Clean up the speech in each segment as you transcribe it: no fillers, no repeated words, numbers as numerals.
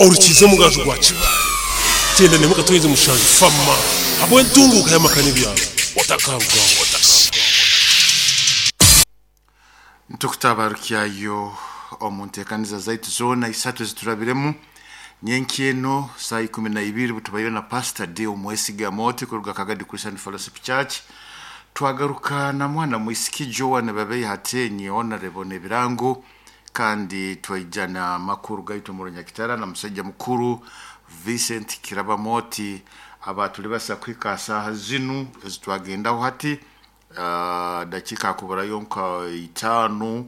Orukiza omugaju gwa Kibaale, 97.7 Fama habw'entunguuka y'amaka n'ebyaro. Otakarugaho. Ntukutabarukyayo omu nteekaniza zaitu zoona isatu eziturabiremu nyenki eno saa 12 butubaire na Pastor Deo Mwesiga Moti kuruga Kagadi Christian Fellowship Church. Twagaruka na mwana mwisiki Joan Babei Hatenyi Honorable Nebirango, kandi twaija na makuru gaitu mu Runyakitara na musajja mukuru Vincent Kiraba Moti abatuli basa kuhika saaha zinu ezitwagendaho hati. Dakika akuburayo nka 5,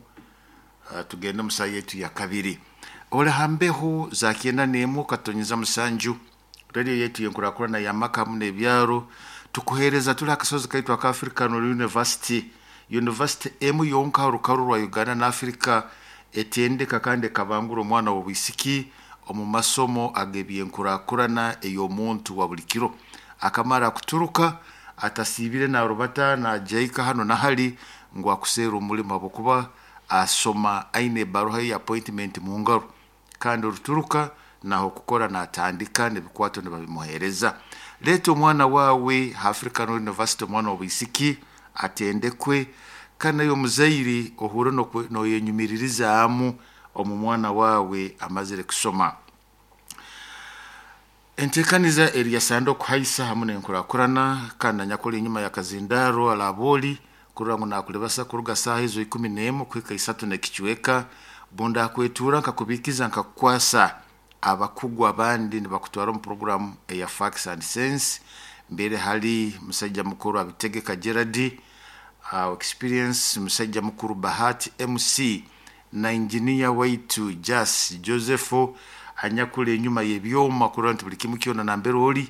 tugende musaha yetu ya kabiri. Ole hambeho za 91.7 radio yetu yenkurakurana ya makamu n'ebyaro tukuhereza tuli akasozi kaitu aka African University, University emu yonka rukaru rwa Uganda na Africa etendeka kandi ekabangura omwana w'obwisiki omu masomo ag'ebyenkurakurana ey'omuntu wa buli kiro. Akamara kuturuka atasiibire narubata najaika hano nahali ngu akuseera omulimo habwokuba asoma aine ebaruha ye appointment mu ngaro, kandi oruturuka naho kukora natandika n'ebikwato nibabimuhereza. Leeta omwana wawe African University, omwana w'obwisiki atendekwe, kandi naye omuzaire ohure noyenyumiririzaamu omu mwana wawe amazire kusoma. Enteekaniza eri yasanda okuhaisa hamu n'enkurakurana, kandi nanyakuli enyuma ya kazindaro alabooli kurora ngu nakulibasa kuruga saaha ezo 11 kuhika 3 n'ekicweka. Bunda akwetuura nkakubiikiza nkakukwasa abakugu abandi nibakutwara omu programu eya Facts and Sense. Mbere hali musajja mukuru Abitegeka Gerard, experience musajja mukuru Bahati MC na engineer waitu Jas Joseph anyakuli enyuma y'ebyoma kurora nti buli kimu kyona nambere oli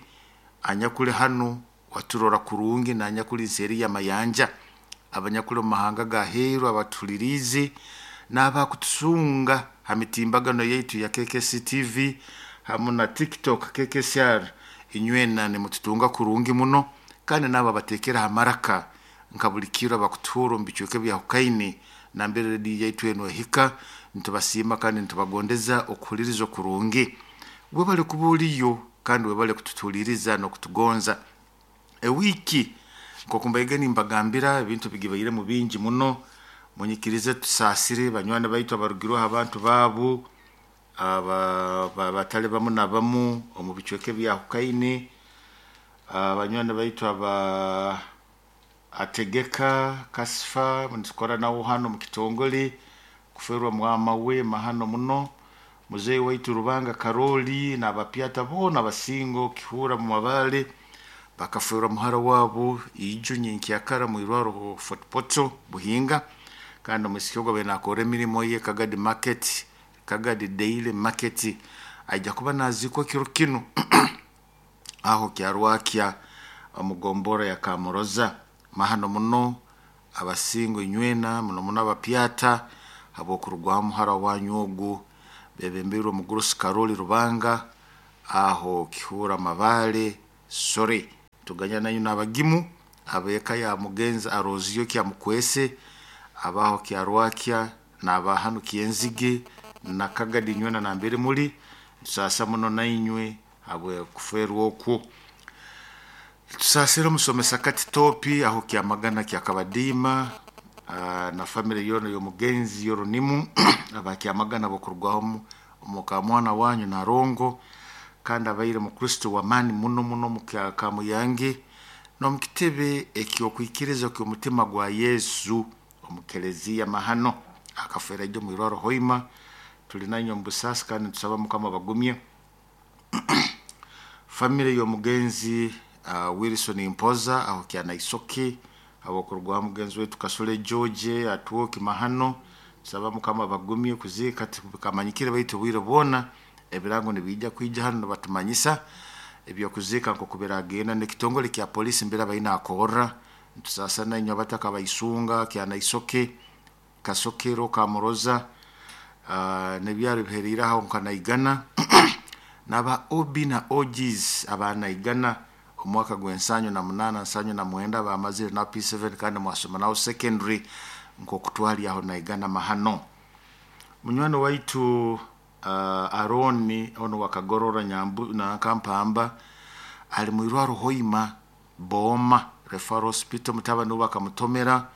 anyakuli hanu waturora kurungi, nanyakuli nseeri y'amayanja, abanyakuli omu mahanga ga heeru abatuhuliriize n'abakutusunga ha mitimbagano yaitu ya KKC TV hamu na TikTok KKCR. Inywena nimututunga kurungi muno, kandi n'abo abateekera ha maraka nka buli kiro abakutuhura omu bicweka ebyahukaine nambere rediyo yaitu enu ehika, nitubasiima kandi nitubagondeza okuhuliriza okurungi. Webale kuba oliyo kandi webale kututuuliriza n'okutugonza. Ewiiki nk'oku mbaige nimbagambira ebintu bigibairemu bingi muno, munyikirize tusaasire banywani baitu abarugirweho abantu baabu abatali bamu na bamu omu bicweka ebyahukaine, abanywani baitu aba Ategeka Kasifa nitukora nawe hano mu kitongole kuferwa mwama we mahano muno, muzeeyi waitu Rubanga Karoli n'abapyata boona abasingo Kihura mu Mabale bakaferwa muhara wabo ijo nyenkyakara mu irwaro Fort Portal Buhinga, kandi omwisiki ogwo abaire nakora emirimo ye Kagadi Market, Kagadi Daily Market, aija kuba naziikwa kiro kinu aho Kyarwakya omu gombora ya Kamuroza. Mahano muno abasingo inywena muno muno abapyata habw'okurugwaho muhara wanyu ogu bebembeirwe omugurusi Karoli Rubanga aho Kihura Mabale Sore. Tuganya nanyu n'abagimu ab'eka ya mugenzi Arozio Kyamukwese abaho Kyarwakya n'abahanu Kyenzige na Kagadi inywena nambere muli, tusaasa muno nainywe habw'okufeerwa okwo. Tusaasire omusomesa Kati Topi aho Kyamagana Kyakabadiima, na family yoona y'omugenzi Yoronimu aba Kyamagana b'okurugwaho omukamwana wanyu Narongo, kandi abaire mukristo w'amaani muno muno omu Kamuyange n'omu kitebe eky'okwikiriza ky'omutima gwa Yesu omu keleziya Mahano. Akafeera ijo omu irwaro Hoima. Tuli nainywe omu busaasi kandi nitusaba Mukama abagumye. Family y'omugenzi Wilson Mpoza aho Kyanaisoke habw'okurugwaho mugenzi waitu Kasule George Atwoki Mahano, tusaba Mukama abagumye kuziika tibikamanyikire baitu obwire bwona ebirango nibiija kwija hanu nibatumanyisa ebyokuziika nk'oku biragenda. N'ekitongole kya poliisi mbere abaine akorra, nitusaasa nainywe abataka abaisunga Kyanaisoke, Kasokero, Kamuroza, n'ebyaro ebiheriire aho nka Naigana n'aba OB na OGs aba Naigana omwaka gw'ensanyu na munaana nsanyu na mwenda bamazire na P7 kandi mwasoma naho secondary nk'oku twali aho Naigana Mahano. Munywani waitu Aroni ono wakagorora Nyambu na Kampamba ali mwirwaro Hoima Boma Referral Hospital, mutabani we bakamutomera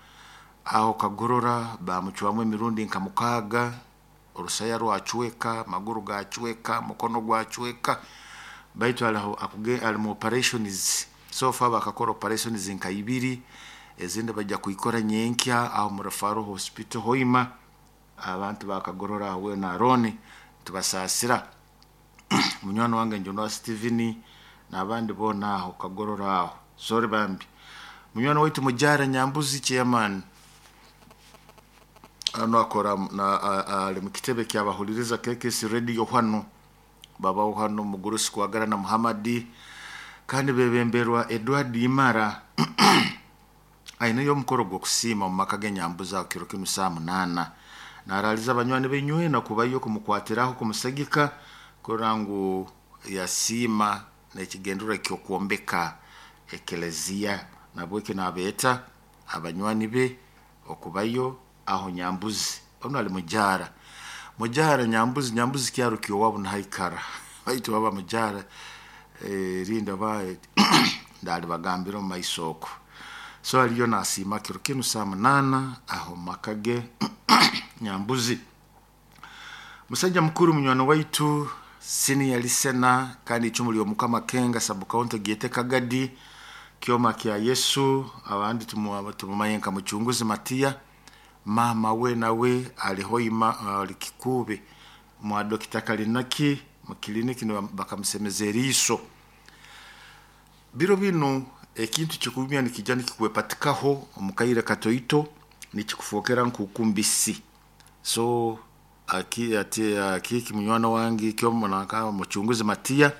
aho Kagorora, bamucwamu emirundi nka 6, orusaya rwacweka, amaguru gacweka, mukono gwacweka, baitu aliho ali mu operations. So far bakakora operations nka 2, ezindi bajja kuikora nyenkya aho mu Referral Hospital Hoima. Abantu bakagorora aho na Aroni tubasasira. Munywani wange Njonwa Steven n'abandi bona aho Kagorora aho, sorry bambi. Munywani waitu Mujara Nyambuzi chairman ano akora na ali mu kitebe kyabahuliriza KKS Radio hano, babaho hano Mugurusi Kwagara na Muhammadi, kandi bebemberwa Edward Imara. Aine yo mukoro gw'okusiima mu maka g'Enyambuzi aho kiro kinu saa 8. Naraliza abanywani benywena kubayo kumukwatiraho kumusagika kurora ngu yasiima n'ekigendero ky'okwombeka ekeleziya. Nabweki nabeeta abanywani be okubayo aho Nyambuzi. Ono ali Mujara, Mujara Nyambuzi, Nyambuzi kyaro kyowabu nahaikara, baitu baba Mujara rinda ba ndali bagambira omu maiso oko. So aliyo nasiima kiro kinu saa 8 aho makage Nyambuzi. Musajja mukuru munywani waitu senior listener kandi icumu ly'Omukama Kenga sub county Giete Kagadi Kyoma kya Yesu, abandi tumumaye nka Mucunguzi Matiya. Mama we nawe ali Hoima, ali Kikube mwa Dokita Kalinaki mu kiliniki bakamusemeza eriiso. Biro bino ekintu kikubya nikijja nikikuwepatikaho omukaire katoito nikikufokera nkukumbisi. So aki ati akiki munywani wange Kyomo naka Mucunguzi Matiya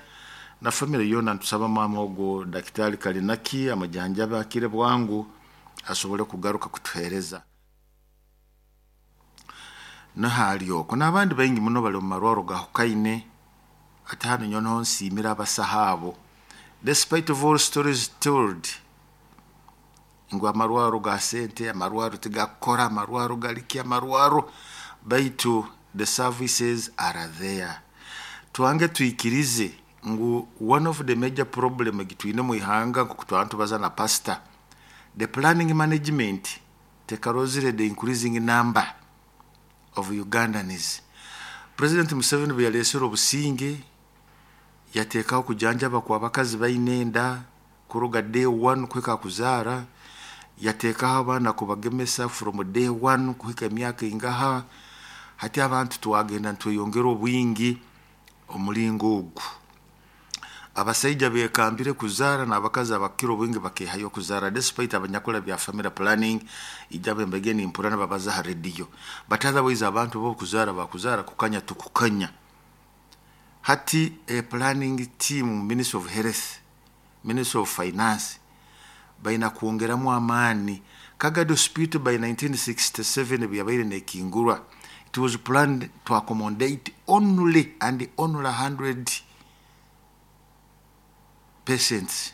na family yona, ntusaba mama ogo Daktari Kalinaki amajanjaba akire bwangu asobole kugaruka kutuhereza. Nahali oko n'abandi baingi muno bali omu marwaro gahukaine. Ate hano nyono nsiimira abasaho abo, despite of all stories told ngu amarwaro ga sente, amarwaro tigakukora, amarwaro galiki amarwaro, baitu the services are there. Twange twikirize ngu one of the major problem egitwine mu ihanga, nkoku twaba tubaza na pastor, the planning management tekarozire the increasing number of Ugandans. President Museveni bwe yalesere obusinge, yateekaho kujanjaba kw'abakazi baine enda kuruga day one kuhika kuzaara, yateekaho abaana kubagemesa from day one kuhika emyaka ingaha. Hati abantu twagenda nitweyongera obwingi omulingo ogu. Abasaija bekambire kuzaara n'abakazi abakira obwingi bakehayo kuzaara, despite abanyakula bya family planning ijabo embege nimpura nibabaza ha radio, but otherwise abantu bo kuzaara bakuzaara kukanya tukukanya. Hati a planning team, Ministry of Health, Ministry of Finance, baina kwongeramu amaani. Kagadi Hospital by 1967 byabaire nekingurwa, it was planned to accommodate only and only 100 patients.